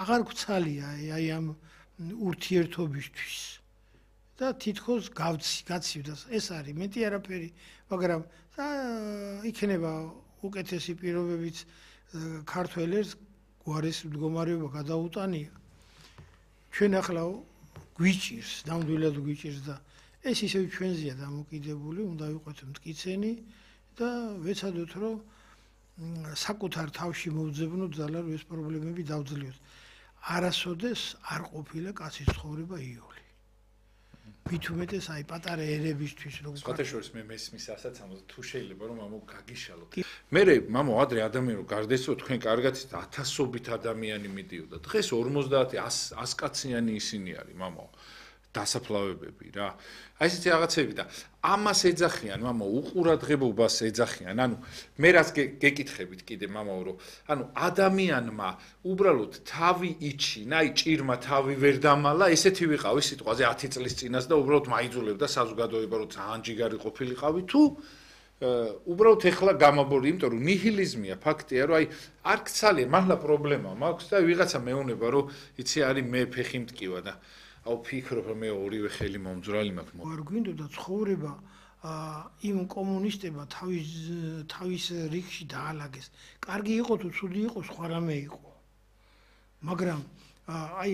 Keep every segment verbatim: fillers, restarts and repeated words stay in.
აღარ გვცალია აი ამ ურთიერთობისთვის და თითქოს გავცი გაცივდა ეს არის მეტი არაფერი მაგრამ იქნება უკეთესი პირობებიც ქართველებს გვარის მდგომარეობა გადაუტანია ჩვენ ახლა გვიჭირს ნამდვილად გვიჭირს და ეს ისევ ჩვენზეა დამოკიდებული უნდა ვიყოთ მტკიცენი და ვეცადოთ რომ საკუთარ თავში მოვძებნოთ ძალა რომ ეს პრობლემები დავძლიოთ არასოდეს არ ყოფილა კაცის ცხოვრება იოლი მით უმეტეს აი პატარა ერებისთვის რომ სხვათაშორის მე მესმის ასაცამოს თუ შეიძლება რომ მამო გაგიშალოთ მე მამო ადრე ადამიანი რომ გარდაეცვა თქვენ კარგად ათასობით ადამიანი მიდიოდა დღეს ორმოცდაათი ას კაციანი ისინი არის მამო დასაფლავებები რა აი ესეთი რაღაცები და ამას ეძახიან მამო უყურადღებობას ეძახიან ანუ მე რაც გეკითხებით კიდე მამაო რომ ანუ ადამიანმა უბრალოდ თავი იჩინა აი ჭირმა თავი ვერ დამალა ესეთი ვიყავი სიტყვაზე ათი წლის წინას და უბრალოდ მაიძულებდა საზოგადოება რომ ძალიან ჯიგარი ყოფილიყავი თუ უბრალოდ ეხლა გამაბორი იმიტომ რომ ნიჰილიზმია ფაქტია რომ აი არ გცალია მართლა პრობლემა მაქვს და ვიღაცა მეუნება რომ იცი არის მე ფეხი მტკივა და აუ ფიქრობ რომ მე ორივე ხელი მომძვრალი მაქვს არ გვინდოდა ცხოვრება იმ კომუნისტებმა თავის თავის რიგში დაალაგეს კარგი იყო თუ ცუდი იყო სხვა რამე იყო მაგრამ აი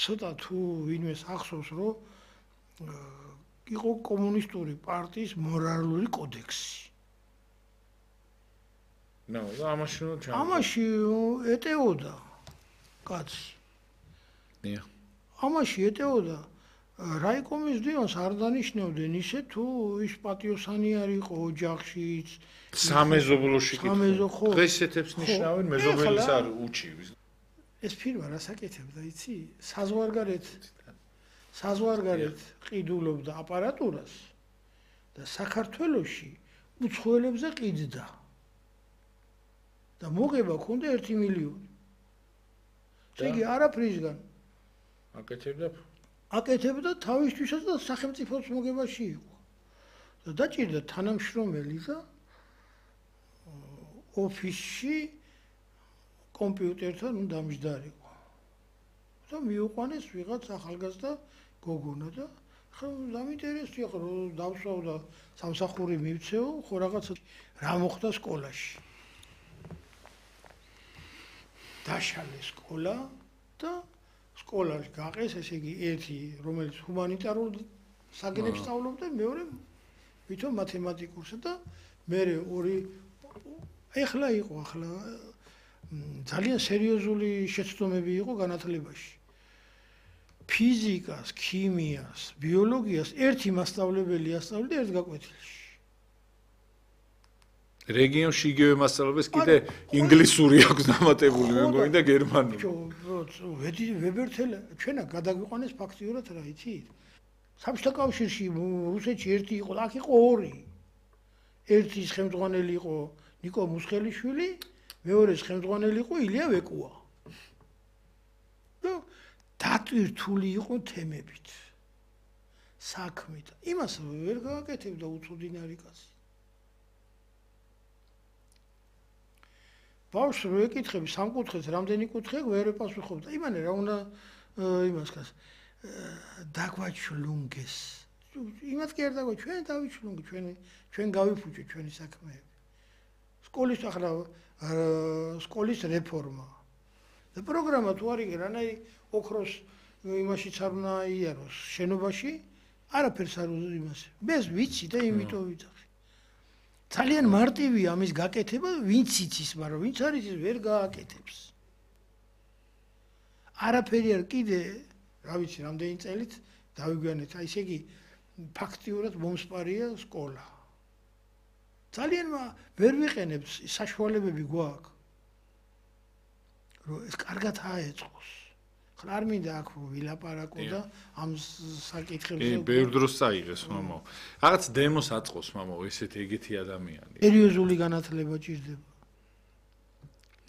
ცოტა თუ ვინმეს ახსოვს რომ იყო კომუნისტური პარტიის მორალური კოდექსი ნო ამაში ამაში ეტეოდა კაცი ამაში ეტეოდა რაიკომის დივანს არ დანიშნავდნენ ისე თუ ის პატიოსანი არ იყო ოჯახშიც სამეზობლოში კითხვა დღეს ესეთებს ნიშნავენ მეზობელის არ უჩივის ეს ფირმა რას აკეთებდა იცი საზღვარგარეთ საზღვარგარეთ ყიდულობდა აპარატურას და საქართველოში უცხოელებზე ყიდდა და მოგება ქონდა ერთი მილიონი შეგი არაფრისგან აკეთებდა აკეთებდა თავისთვისაც და სახელმწიფოს მოგებაში იყო და დაჭირდა თანამშრომელი და ოფისში კომპიუტერთან დამჯდარიყო და მიუყვანეს ვიღაც ახალგაზრდა გოგონა და ხო დამინტერესია ხო დავსვავ და სამსახური მივცეო ხო რაღაცა რა მოხდა სკოლაში დაშალე სკოლა და სკოლაში გაყეს, ესე იგი, ერთი, რომელიც ჰუმანიტარულ საგნებს სწავლობდა, მეორე ვითომ მათემატიკურსა და მერე ორი ეხლა იყო, ახლა ძალიან სერიოზული შეცდომები იყო განათლებაში. ფიზიკას, ქიმიას, ბიოლოგიას ერთი მასწავლებელი ასწავლიდა ერთ გაკვეთილში. რეგიონში იგივე მასწავლებელს კიდე ინგლისური აქვს დამატებული, მე მგონი და გერმანული. ვებერთელა ჩვენა გადაგვიყვანეს ფაქტიურად რა იცით? საბჭოთა კავშირში რუსეთში ერთი იყო, აქ იყო ორი. ერთის ხელმძღვანელი იყო ნიკო მუსხელიშვილი, მეორეს ხელმძღვანელი იყო ილია ვეკუა. და დატვირთული იყო თემებით. საქმით. იმას ვერ გააკეთებდა უცოდინარი კაცი. ბავშვს რო ეკითხები სამკუთხედს რამდენი კუთხე ვერ ეპასუხობდა. იმანე რა უნდა იმას კაც დაგვაჩლუნგეს. იმათ კი არ დაგვა ჩვენ დავიჩლუნგე ჩვენი ჩვენ გავიფუჭე ჩვენი საქმეები. სკოლის ახლა სკოლის რეფორმა. და პროგრამა თუ არ იგე რანაირი ოქროს იმაშიც არ უნდა იაროს შენობაში არაფერს არ იმას. მე ვიცი და იმიტომ ვიცახი. ძალიან მარტივია ამის გაკეთება, ვინც იცის, მაგრამ ვინც არის ის ვერ გააკეთებს. არაფერი არ კიდე, რა ვიცი, რამდენი წელით დავიგვიანეთ, აი ესე იგი ფაქტიურად მომსპარია სკოლა. ძალიან ვერ ვიყენებთ საშუალებები გვაქვს. რომ ეს კარგად აეწყოს. ხლა არ მინდა აქ ვილაპარაკო და ამ საკითხებზე. კი, ბევრ დროს წაიღეს, მამო. რაღაც დემოს აწყოს, მამო, ესეთი ეგეთი ადამიანი. სერიოზული განათლება ჭირდება.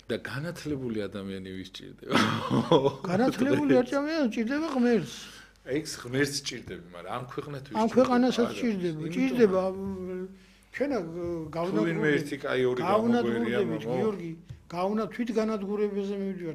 და განათლებული ადამიანი ვის ჭირდება? განათლებული ადამიანი ჭირდება ღმერთს. ეს ღმერთს ჭირდება, მაგრამ ამ ქვეყნად ვის ჭირდება? ამ ქვეყანასაც ჭირდება, ჭირდება ჩვენა გავნაკვირდებით, გავნაკვირდებით, გიორგი, გავუნა თვითგანადგურებაზე მივიდივართ.